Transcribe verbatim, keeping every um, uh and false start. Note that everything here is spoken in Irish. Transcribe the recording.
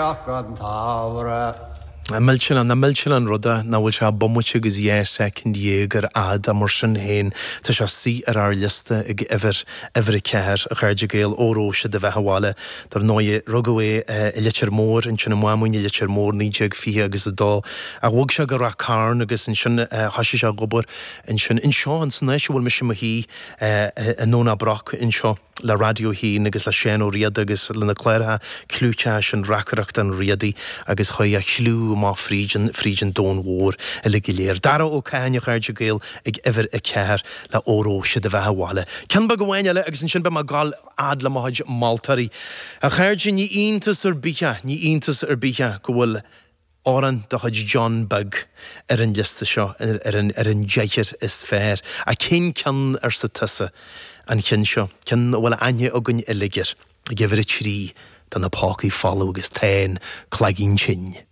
An tsamhraidh. Millteanach, nach millteanach an rud é nach bhfuil sé bomaite agus dhá soicind dhéag ar fhad ach mar sin féin tá sé suí ar ár liosta ag uimhir, uimhir a ceathair, a chairde Gael, Óró Sé do Bheatha 'Bhaile. Dar ndóigh, rugadh é i Leitir Móir, ansin i Máimín i Leitir Móir, naoi déag fiche agus a dó, ach bhog sé go Ráth Cairn agus ansin thoisigh sé ag obair ansin, anseo, ins an áit a bhfuil mise i mo shuí, i nDomhnach Broc anseo. Le Raidió a hAon agus le Seán Ó Riada agus le na cláracha clúiteacha sin Reacaireacht an Riadaigh agus chuaigh a chliú amach fríd an fríd an domhan mhór uilig go léir. Dara Ó Catháin a chairde Gael ag uimhir a ceathair le Óró Sé do Bheatha 'Bhaile. Ceann beag amháin eile agus ansin beidh mé ag gabháil fhad le mo chuid moltóirí. A chairde ní iontas ar bith é, ní iontas ar bith é go bhfuil amhrán de chuid John Beag ar an liosta seo, ar an ar an deichniúr is fearr. Ach cén ceann arsa tusa? An ceann seo, ceann a bhfuil aithne againn uilig air, ag uimhir a trí, tá na pócaí folamh agus tá an cloigeann tinn.